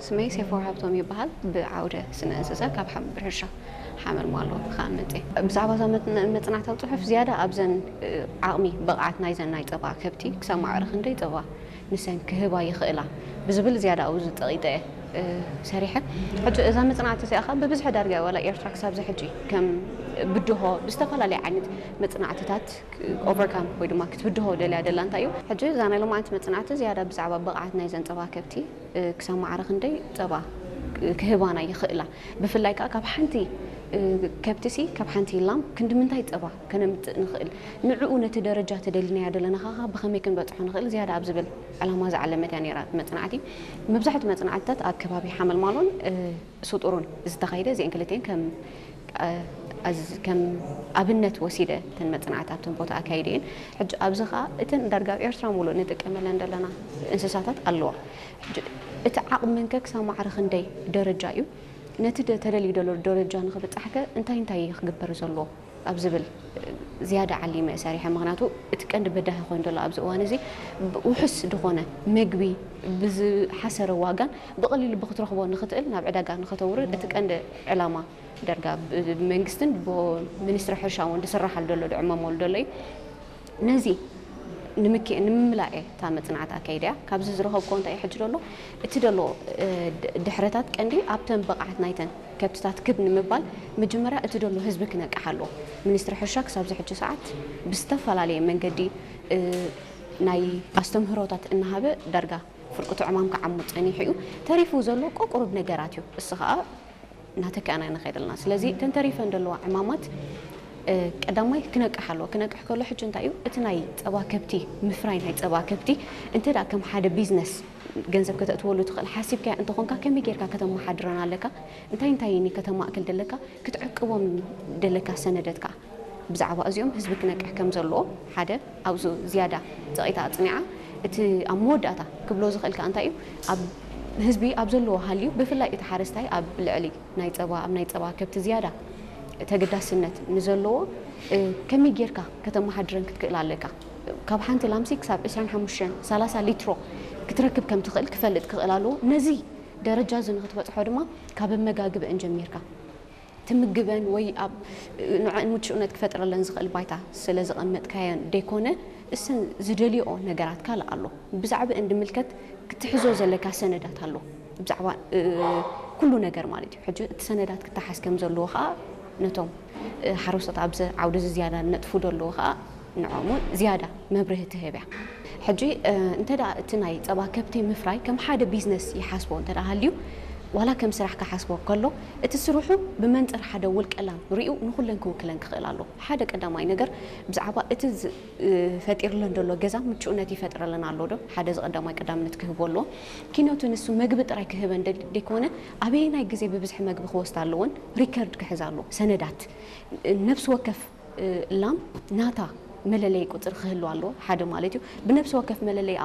ስመይ ሴፎር ሃብቶም ይበሃል። ብዓውደ ስነ እንስሳ ካብ ሓ- ብሕርሻ ሓመል ሟሎ ካብ መፅእ። ብዛዕባ እዛ መፅናዕታዊ ፅሑፍ ዝያዳ ኣብዘን ዓቕሚ ብቕዓት ናይዘን ናይ ፀባ ከብቲ ክሳብ ማዕረ ክንደይ ፀባ ንሰን ክህባ ይኽእላ ብዝብል ዝያዳ ኣብኡ ዝጠቒጠ ሰሪሐ። ሕጂ እዛ መፅናዕቲ እዚኣ ከዓ ብብዝሒ ዳርጋ ዋላ ኤርትራ ክሳብ ዝሕጂ ከም ብድሆ ብዝተፈላለየ ዓይነት መፅናዕትታት ኦቨርካም ወይ ድማ ክትብድሆ ደልያ ደላ እንታይ እዩ? ሕጂ እዛ ናይ ሎማዓንቲ መፅናዕቲ ዝያዳ ብዛዕባ ብቕዓት ናይ ዘንፀባ ከብቲ ክሳብ ማዕረ ክንደይ ፀባ ክህባና ይኽእላ? ብፍላይ ከዓ ካብ ሓንቲ ከብትሲ ካብ ሓንቲ ላም ክንዲ ምንታይ ፀባ ከነምፅእ ንኽእል? ንዕኡ ነቲ ደረጃ ተደሊናዮ ዘለና ከዓ ብኸመይ ክንበፅሖ ንኽእል ዝያዳ ኣብ ዝብል ዕላማ ዝዓለመት እያ ነይራ መፅናዕቲ። መብዛሕትኡ መፅናዕትታት ኣብ ከባቢ ሓመልማሎን ስጡሩን ዝተኻየደ እዚአን ክልቲአን ከም ከም ኣብነት ወሲደ እተን መፅናዕቲ ኣብተን ቦታ ኣካይደ እየን። ሕጂ ኣብዚ ከዓ እተን ዳርጋ ኣብ ኤርትራ ሙሉእ ንጥቀመለን ዘለና እንስሳታት ኣለዋ። ሕጂ እቲ ዓቕመንከ ክሳብ ማዕረ ክንደይ ደረጃ እዩ? ነቲ ተደልዩ ዘሎ ደረጃ ንኽብፃሕከ እንታይ እንታይ ክግበር ዘለዎ ኣብ ዝብል ዝያዳ ዓሊመ ሰሪሐ። ምክንያቱ እቲ ቀንዲ በዳሂ ኮይኑ ዘሎ ኣብዚ እዋን እዚ ውሑስ ዝኾነ መግቢ ብዝሓሰረ ዋጋን ብቐሊሉ ብክትረኽቦ ንኽትእል ናብ ዕዳጋ ንኸተውርድ እቲ ቀንዲ ዕላማ ደርጋ ብመንግስትን ብሚኒስትሪ ሕርሻ እውን ዝስራሓሉ ዘሎ ዝዕመመሉ ዘሎ እዩ። ነዚ ንምክ- ንምምላእ እየ እታ መፅናዕቲ ኣካይደ እያ። ካብዚ ዝረኸብኮ እንታይ እዩ ሕጂ ዘሎ እቲ ዘሎ ድሕረታት ቀንዲ ኣብተን ብቕዓት ናይተን ከብትታት ክብ ንምባል መጀመርያ እቲ ዘሎ ህዝቢ ክነቅሕ ኣለዎ። ሚኒስትሪ ሕርሻ ክሳብ ዝሕጂ ሰዓት ብዝተፈላለየ መንገዲ ናይ ኣስተምህሮታት እናሃበ ዳርጋ ፍርቂ ትዕማም ክዓሙ ፀኒሑ እዩ። ተሪፉ ዘሎ ቆቁሩብ ነገራት እዩ። እሱ ከዓ እናተካእና ንኸይድ ኣለና። ስለዚ እተን ተሪፈን ዘለዋ ዕማማት ቀዳማይ ክነቅሕ ኣለዎ። ክነቅሕ ከሎ ሕጂ እንታይ እዩ እቲ ናይ ፀባ ከብቲ ምፍራይ ናይ ፀባ ከብቲ እንተ ደኣ ከም ሓደ ቢዝነስ ገንዘብ ከተእትወሉ ትኽእል ሓሲብካያ እንተኾንካ ከመይ ጌርካ ከተመሓድረን ኣለካ? እንታይ እንታይ እኒ ከተማእክል ደለካ? ክትዕቅቦም ደለካ ሰነደት ከዓ ብዛዕባ እዚኦም ህዝቢ ክነቅሕ ከም ዘለዎ ሓደ ኣብዙ ዝያዳ ፀቒታ ኣፅኒዓ። እቲ ኣብ መወዳእታ ክብሎ ዝኽእል ከዓ እንታይ እዩ ኣብ ህዝቢ ኣብ ዘለዎ ሃልዩ ብፍላይ እቲ ሓረስታይ ኣብ ልዕሊ ናይ ፀባ ኣብ ናይ ፀባ ከብቲ ዝያዳ ተገዳስነት ንዘለዎ ከመይ ጌርካ ከተመሓድረን ክትክእል ኣለካ? ካብ ሓንቲ ላምሲ ክሳብ ዕስራን ሓሙሽተን ሰላሳ ሊትሮ ክትረክብ ከም ትኽእል ክፈልጥ ክኽእል ኣለዎ። ነዚ ደረጃ እዚ ንክትበፅሖ ድማ ካብ ኣመጋግበአን ጀሚርካ ትምግበን ወይ ኣብ ንዕን ምቹእነት ክፈጥረለን ዝኽእል ባይታ ስለ ዘቐመጥካየን ደይኮነ እሰን ዝደልዮኦ ነገራት ካልእ ኣሎ። ብዛዕባአን ድምልከት ክትሕዞ ዘለካ ሰነዳት ኣሎ። ብዛዕባ ኩሉ ነገር ማለት እዩ። ሕጂ እቲ ሰነዳት ክተሓዝ ከም ዘለዎ ከዓ ነቶም ሓረስቶት ኣብዚ ዓውዲ እዚ ዝያዳ ነጥፉ ዘለዉ ከዓ ንዕኦም እውን ዝያዳ መብርሂ ትህብ እያ። ሕጂ እንተ ደኣ እቲ ናይ ፀባ ከብቲ ምፍራይ ከም ሓደ ቢዝነስ ይሓስቦ እንተ ደኣ ሃልዩ ዋላ ከም ስራሕ ክሓስቦ ከሎ እቲ ስርሑ ብመንፅር ሓደ ውልቀ ላም ሪኡ ንኩለን ክውክለን ክኽእል ኣለዎ። ሓደ ቀዳማይ ነገር ብዛዕባ እቲ ፈጢርለን ዘሎ ገዛ ምቹእነት ይፈጥረለን ኣሎ ዶ? ሓደ እዚ ቀዳማይ ቀዳምነት ክህቦ ኣለዎ። ኪነቱ ንሱ መግቢ ጥራይ ክህበን ደይኮነ ኣበየናይ ግዜ ብብዝሒ መግቢ ክወስዳ ኣለዎን ሪከርድ ክሕዝ ኣለዎ። ሰነዳት ነብሲ ወከፍ ላም ናታ መለለይ ቁፅሪ ክህልዋ ኣለዎ ሓደ ማለት እዩ። ብነብሲ ወከፍ መለለይ